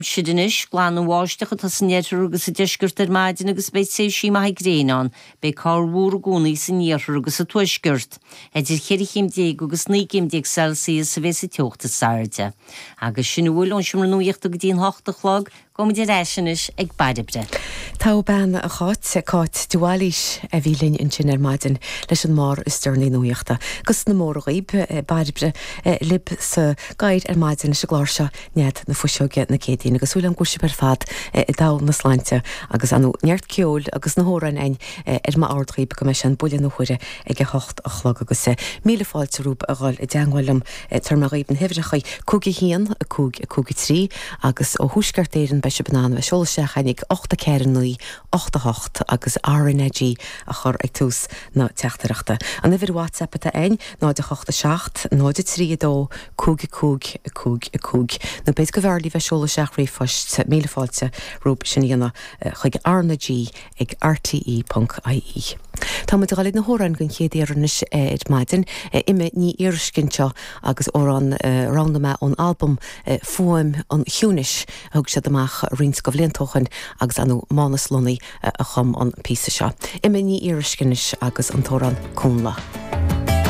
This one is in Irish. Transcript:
Aimsir anois, glan an bháisteach atá san oirthear agus sa deisceart ar maidin agus beidh tréimhsí maithe gréine ann. Beidh corrmhúr i gcónaí san iarthar agus sa tuaisceart. Idir cheithre chéim déag agus 19 gcéim Celsius a bheidh sa teocht is airde. Agus sin a bhfuil ón Seomra Nuachta go dtí an hocht a chlog. Gabhaimid ar ais anois ag Bairbre. Togha bean a Cháit, Cáit de Bhailís a bhí linn ansin ar maidin leis an mbarr is deireanaí nuachta. Agus na móra dhaoib, Bairbre libh sa gcathaoir ar maidin leis an gclár seo. Nead na Fuiseoige na Céadaoine agus súil agam go bhfuil sibh ar fad i dtogha na sláinte agus ar ndóigh neart ceoil agus na hamhráin againn ar m'ord dhaoib go mbeidh sé an buille na huaire ag a hocht a chlog agus míle fáilte romhaibh a dhul i dteangmháil liom tabharfaidh mé dhaoib na huimhreacha 5 1 5 5 3 agus ó Thuaisceart Éireann beidh sibh in ann a bheith ag seoladh isteach chugainn ag 8 4 9 8 8 agus RnaG a chur ag tús na teachtaireachta. An uimhir WhatsApp atá againn 0 8 7 0 3 2 5 5 5 5. Nó b'fhéidir go mb'fhearr libh bheith ag seoladh isteach ríomhphoist, míle fáilte romhaibh sin a dhéanamh chuig RnaG ag rte ponc ie. Tá muid ag dul ag na hamhráin den chéad iarraidh anois ar maidin. Imma Ní Fhíoruisce anseo agus amhrán a roghnaigh mé ón albam Fuaim an Chiúnais a thug siad amach roinnt de bhlianta ó shoin agus ar ndóigh Mánus Lunny a chum an píosa seo. Imma Ní Fhíoruisce anois agus an t-amhrán Cúnla.